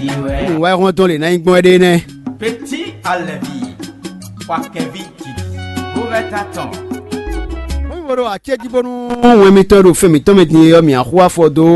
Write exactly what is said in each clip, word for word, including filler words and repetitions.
Nǔwáyixɔ́ntɔn lě ná nyí gbɔn é ɖe nɛ́. Petit Alevi, Joaquin Viti, Roberta Tɔn. Wọ́n yí wo ɖo acéjí bónú wɛn mitɔn e ɖo fɛn mǐtɔn mɛ din é ɔ́, mǐ axú afɔ dó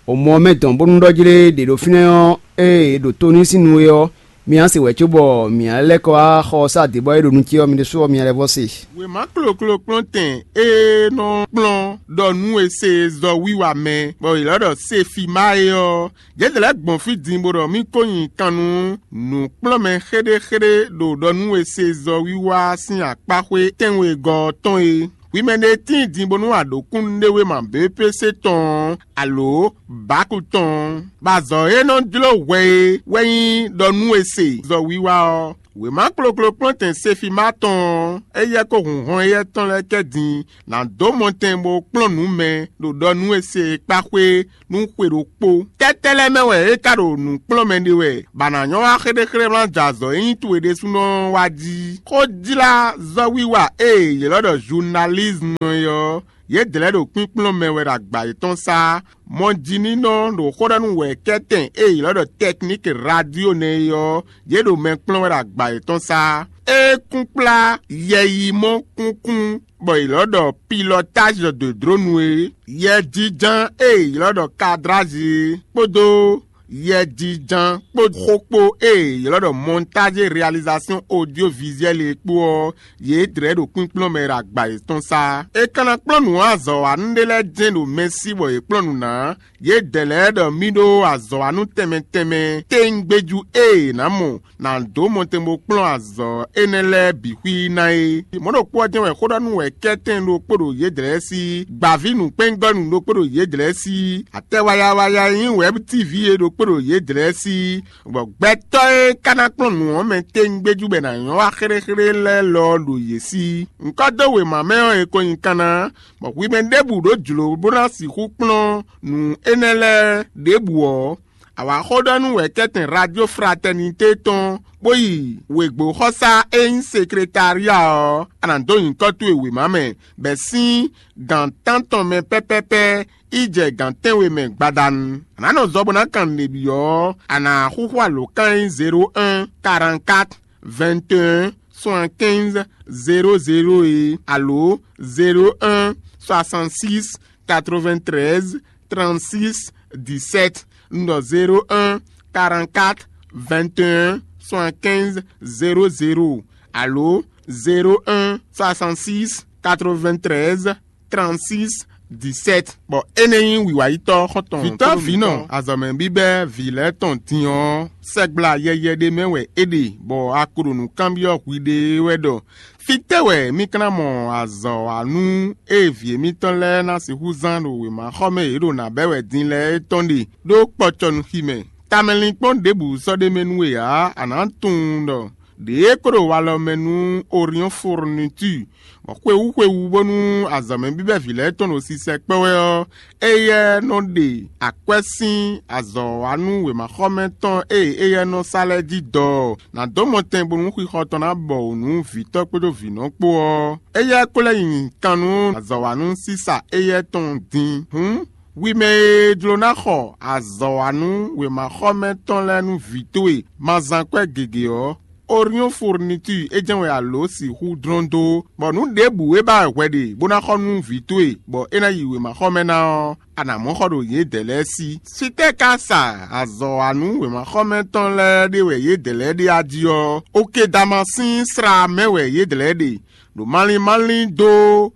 omɔ mɛ dɔn bónú ɖɔjlé ɖě ɖo fínɛ́ ɔ́, ée è ɖo to n'i sín nu é ɔ́, mǐ á se wɛ̌ cóbɔ mǐ á lɛ́ kɔ wá xɔ ɔ́ sá dě bɔ é ɖo nu ce ɔ́, mi ɖésú ɔ́, mi lɛ́ vɔ se. Wěma kloklo kplɔ́ntɛn e nɔ kplɔ́n ɖɔ nú è se zɔwiwa mɛ, bɔ è lɔ̌ ɖɔ Sefima é ɔ́, yě lɛ́ gbɔn fí din bó ɖɔ mì ko nyi kan nú nǔkplɔ́nmɛ xéɖéxéɖé ɖo ɖɔ nú è se zɔwiwa sín akpáxwé tɛ́nwegɔ́ ɔ́ tɔn é. Hwi mɛ ɖé tíin din bónú a ɖǒ kúnnuɖewéma B P C tɔn ɔ́, alǒ bǎku tɔn ɔ́, bɔ azɔ̌ e nɔ jló hwɛ é wɛ nyí ɖɔ nú è se zɔwiwa ɔ́. Wěma kloklo kplɔ́ntɛn Sefima tɔn ɔ́, éyɛ́ kó hun hɔn éyɛ́ tɔn lɛ́ɛ kɛ din ná dó mɔtɛn bó kplɔ́n nǔ mɛ ɖo ɖɔ nú è se e kpá xwé nú xwe ɖokpó. Tɛ́tɛ́ lɛ́ɛ mɛ wɛ é ka ɖo nǔ kplɔ́n mɛ ɖe wɛ, bɔ a nǎ nyɔ́ wá xéɖéxéɖé wlán jɛ azɔ̌ e nyí towe ɖésúnɔ ɔ́ wá jí? Xójlázɔ́wiwa e è ylɔ́ ɖɔ zunalízmu é ɔ́, yě dlɛ̌ ɖo kpínkplɔ́n mɛ wɛ ɖo agba yětɔn sá. Mɔjínínɔ ɖo xó ɖɔ nú wɛ̌kɛ́tɛn e è ylɔ́ ɖɔ tɛkníki radio nɛ́ é ɔ́, yě ɖo mɛ kplɔ́n wɛ ɖo agba yětɔn sá. É kún kplá yɛyimɔ kúnkún bɔ è ylɔ́ ɖɔ pilɔtázi de dronu é, yɛjínján e è ylɔ́ ɖɔ kadrázi é, kpódó yɛjínján kpó xó kpó e è ylɔ́ ɖɔ mɔntázi réalizasɔ́n odyovizuɛ́li é kpó ɔ́, yě dlɛ̌ ɖo kpínkplɔ́n mɛ ɖo agba yětɔn sá. È ka ná kplɔ́n nǔ azɔ̌wanú ɖé lɛ́ɛ jɛ́n ɖo mɛ sí bɔ yě kplɔ́n nǔ ná. Yědɛɛ lɛ́ɛ ɖɔ mì ɖó azɔ̌wanú tɛnmɛ tɛnmɛ téŋgbéjú e è nǎ mɔ ná dó mɔtɛn bó kplɔ́n azɔ̌ énɛ́ lɛ́ɛ bǐ xwí ná é. Mɔ̌ ɖokpó ɔ́ jɛ́n wɛ xó ɖɔ nú wɛ kɛ́tɛn ɖokpó ɖo yědɛɛ sí, gbǎví nǔkpɛ́ngɔ́nú ɖokpó ɖo yědɛɛ sí, atɛ wayawaya e nyí wɛ̌btíví é ɖokpó ɖo yědɛɛ sí, bɔ gbɛtɔ́ e ka ná kplɔ́n nǔ ɔ́ mɛ téŋgbéjú bɔ è nǎ nyɔ́ wá xéɖéxéɖé lɛ́ɛ lɔ ɔ́ ɖo yě sí. Ŋkɔ́ dó wěma mɛ ɔ́, è ko nyi kanna, bɔ hwi mɛ ɖěbǔ ɖó jlǒ bó ná sixú kplɔ́n nǔ énɛ́ lɛ́ɛ ɖěbǔ ɔ́, a wǎ xó ɖɔ nú wɛ̌kɛ́tɛn Radio Fraternité tɔn, bó yi wěgbóxɔsá e nyí sekretária ɔ́, a nǎ dó nyǐkɔ towe wěma mɛ, bɔ è sín gǎn tántɔn mɛ pɛ́pɛ́pɛ́ yi jɛ gǎn tɛ́nwe mɛ gbadanu. A nǎ nɔ zɔ bó ná kan nǔɖé byɔ́ ɔ́, a nǎ xúxú alǒkan e nyí zéro un, quarante-quatre, vingt et un, soixante-quinze, zéro zéro é, alo zéro un, soixante-six, quatre-vingt-treize, trente-six, dix-sept. Un ɖɔ zéro un, quarante-quatre, vingt et un, soixante-quinze, zéro zéro, alo zéro un, soixante-six, quatre-vingt-treize, trente-six, dix-sept. Bɔ énɛ́ nyí wǐwáyítɔ́ xɔ́ntɔn. Vǐtɔ́ vǐnɔ azɔ̌mɛ bíbɛ́ vǐ lɛ́ɛ tɔn din ɔ́, sɛgbla yɛyɛ ɖé mɛ wɛ é ɖe, bɔ a ko ɖo nǔ kanbyɔ́ hwiɖée wɛ ɖɔ: Fítɛ́ wɛ mì ka ná mɔ azɔ̌wanú e vǐ émítɔn lɛ́ɛ ná sixú zán ɖo wěmaxɔmɛ e yě ɖo nǎ bɛ́ wɛ din lɛ́ɛ é tɔn ɖe, ɖó kpɔcɔnuxi mɛ? Tamɛlinkpɔ́n ɖěbǔ sɔ́ ɖ'é mɛ nú we ǎ; a nǎ tunwun ɖɔ ɖě e kó ɖo walɔ mɛ nú Oriɔ́n Fourniture, bɔ xwewú xwewú bónú azɔ̌mɛ bíbɛ́ vǐ lɛ́ɛ tɔn ɖo sisɛ kpɛ́ wɛ ɔ́, éyɛ́ nɔ ɖe akwɛ́ sín azɔ̌wanú wěmaxɔmɛ tɔn e éyɛ́ nɔ sa lɛ́ɛ jí dɔ ɔ́, nǎ dó mɔtɛn bónú xixɔ tɔn ná bɔ wǔ nú vǐtɔ́ kpódó vǐnɔ kpó ɔ́. Éyɛ́ ko lɛ́ nyi kan nú azɔ̌wanú sísa éyɛ́ tɔn din. Hǔn, hwi mɛ e jló ná xɔ azɔ̌wanú wěmaxɔmɛ tɔn lɛ́ɛ nú vǐ towe ma zán kwɛ́ gěgé ɔ́, Oriɔ́n Fourniture é jɛ́n wɛ a lǒ sixú dlɔ́n dó, bɔ nǔ ɖěbǔ e ba wɛ hwɛ ɖe bó ná xɔ nú vǐ towe, bɔ é ná yi wěmaxɔmɛ ná ɔ́, a nǎ mɔ xɔ ɖo yědɛɛ lɛ́ɛ sí. Fítɛ́ ka sa azɔ̌wanú wěmaxɔmɛ tɔn lɛ́ɛ ɖe wɛ yědɛɛ lɛ́ɛ ɖe a jí ɔ́, Okedamasín slá mɛ wɛ yědɛɛ lɛ́ɛ ɖe, ɖo malín málín dó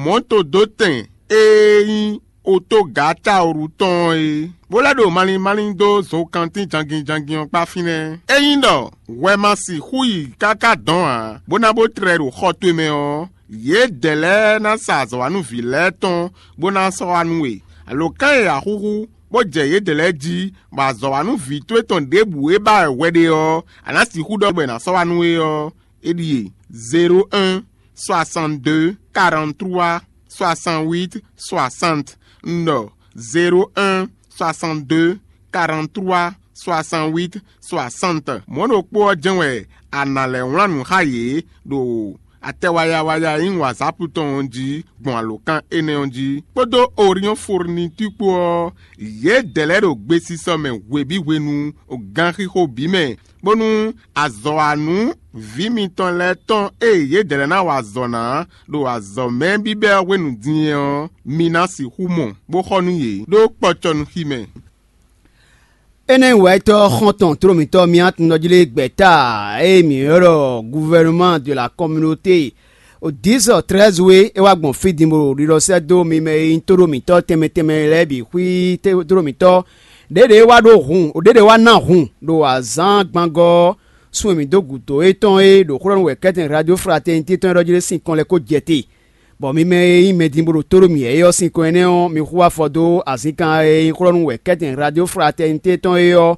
mɔ̌todótɛn e nyí otógǎ Taolu tɔn ɔ́ é, bó lɛ́ ɖo malín málín dó zokantín jangin jangin ɔ́ kpá fínɛ́. Ényí ɖɔ hwɛ ma sixú yi káká dɔn ǎ, bó ná bó tlɛ ɖo xɔ towe mɛ ɔ́, yědɛɛ lɛ́ɛ ná sa azɔ̌wanúví lɛ́ɛ tɔn bó ná sɔ́ wá nú we. Alǒkan e a xúxú, bó jɛ yědɛɛ lɛ́ɛ jí, bɔ azɔ̌wanúví towe tɔn ɖěbǔ e ba wɛ hwɛ ɖe ɔ́, a nǎ sixú ɖɔ bɔ è nǎ sɔ́ wá nú we ɔ́, é ɖíe: zéro un, soixante-deux, quarante-trois, soixante-huit, soixante. Un ɖɔ zéro un, soixante-deux, quarante-trois, soixante-huit, soixante. Mɔ̌ ɖokpó ɔ́ jɛ́n wɛ a nǎ lɛ́ wlán nǔ xá yě ɖo Atɛ wayawaya e nyí wǎzápu tɔn ɔ́ jí gbɔn alǒkan énɛ́ ɔ́ jí, kpódó Oriɔ́n Furnitúr kpó ɔ́, yědɛɛ lɛ́ɛ ɖo gbesisɔ mɛ hwebǐ hwenu ganxixo bǐ mɛ, bónú azɔ̌wanú vǐ mitɔn lɛ́ɛ tɔn e yědɛɛ lɛ́ɛ ná wa azɔ̌ ná ɖo azɔ̌ mɛ bíbɛ́ ɔ́ hwenu din é ɔ́, mi ná sixú mɔ, bó xɔ nú yě ɖó kpɔcɔnúxi mɛ. Énɛ́ wɛ tɔ́ xɔ́ntɔn tló mǐtɔn Miatundɔjlé gbɛ̌ta e mǐ ylɔ́ ɖɔ Gouvernement de la Communauté, o dix treize wé é wá gbɔn fí din bó ɖo ɖiɖɔ sɛ́ dó mi mɛ e nyí tóɖó mǐtɔn tɛnmɛ tɛnmɛ lɛ́ɛ bǐ xwí tóɖó mǐtɔn. Ɖěɖě wá ɖó hun, ɖěɖě wá ná hun ɖo azǎn gbangɔ́ ɔ́, sun e mǐ dó gǔdo étɔn e ɖo xó ɖɔ nú wɛ̌kɛ́tɛn Radio Fraternité tɔn é ɖɔ jí ɖé sín kɔn lɛ́ɛ kó jɛ te. Bɔ mi mɛ e nyí mɛdin bó ɖo tó ɖó mǐ é ɔ́ sín kɔn énɛ́ ɔ́, mi xú afɔ dó azǐnkan e nyí xlɔ́ nú wɛ̌kɛ́tɛn Radio Fraternité tɔn é ɔ́,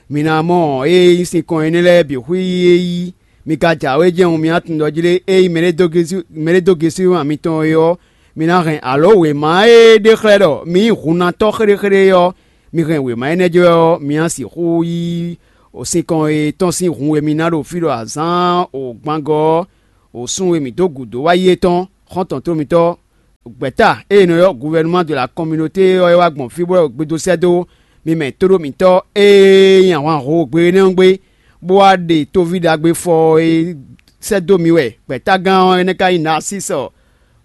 mi ná mɔ ée nyí sín kɔn énɛ́ lɛ́ɛ bǐ xwí é yí. Mi ka jǎwe jɛ́n mi tunwun ɖɔ jlé ée nyí mɛɖé dó gésú mɛɖé dó gésú mitɔn é ɔ́, mi ná hɛn alǒ wěma e ɖe xlɛ́ ɖɔ mi nyí hunnatɔ́ xéɖéxéɖé é ɔ́, mi hɛn wěma énɛ́ jɛ ɔ́, mi ná sixú yí sinkɔn e tɔn sín hun e mi ná ɖo fí ɖo azǎn o gbangɔ ɔ́, wǒsun e mǐ dó gǔdo wá yi é tɔn, xɔ́ntɔn tómitɔ́, gbɛ̌ta e è nɔ ylɔ́ Gouvernement de la Communauté ɔ́ é wá gbɔn fí bó wɛ gbedo sɛ́ dó mi mɛ tóɖó mǐtɔn e nyí ahwanhogbe énɛ́ ɔ́ gbé, bó wá ɖe tóví ɖagbe fɔ e sɛ́ dó mi wɛ gbɛ̌tagán ɔ́ énɛ́ ka nyí Nasísɔ,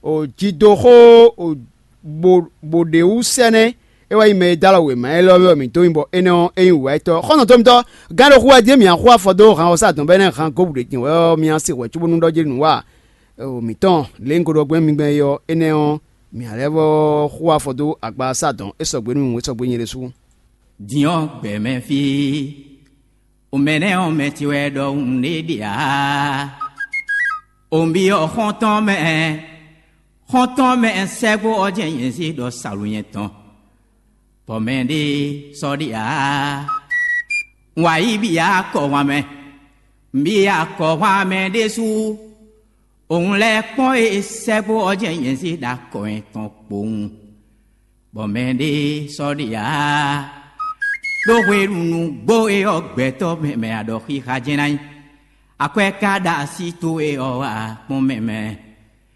o jidoxó o bo bo ɖě wú sɛ́nɛ́. É wɛ nyí mɛ e dó alɔ wěma élɔ́ mɛ wɛ mǐ dó nyí, bɔ énɛ́ ɔ́, é nyí wǔwɛ́tɔ́. Xɔ́ntɔn tómitɔ́, gán ɖo xú wɛ dín mǐ axú afɔ dó han ɔ́ sá dɔn bɔ énɛ́ han gǒ bǔ ɖě din wɛ ɔ́, mǐ á se hwɛ̌ cóbónú ɖɔ jlé nǔ wa mǐtɔn lě un ko ɖɔ gbɛn mi gbɛn é ɔ́, énɛ́ ɔ́, mǐ ná lɛ́ vɔ́ xú afɔ dó agba sá dɔn é sɔgbe nú mì hǔn é sɔgbe nyɛ ɖésú. Din ɔ́, gbɛ̌ mɛ fí, o mɛ nɛ́ ɔ́, mɛ ce wɛ ɖɔhun ɖé ɖe ǎ. O nǔ byɔ́ xɔ́ntɔn mɛ, xɔ́ntɔn mɛ sɛ́gbó ɔ́ jɛ́n nyɛ zé ɖɔ salu nyɛ tɔn, bɔ mɛ ɖé sɔ́ ɖe ǎ. Un wa yí byɔ́ akɔhwan mɛ, un byɔ́ akɔhwan mɛ ɖésú. Òun lɛ́ kpɔ́n e sɛ́gbó ɔ́ jɛ́n nyɛ zé ɖo akɔ nyɛ tɔn kpowun, bɔ mɛ ɖé sɔ́ ɖe ǎ. Ɖó hwenu nǔgbó e ɔ́ gbɛtɔ́ mɛ mɛ aɖɔxixa jɛ́n ná nyí. Akwɛ́ ka ɖo así towe ɔ́ wá kpɔ́n mɛ mɛ.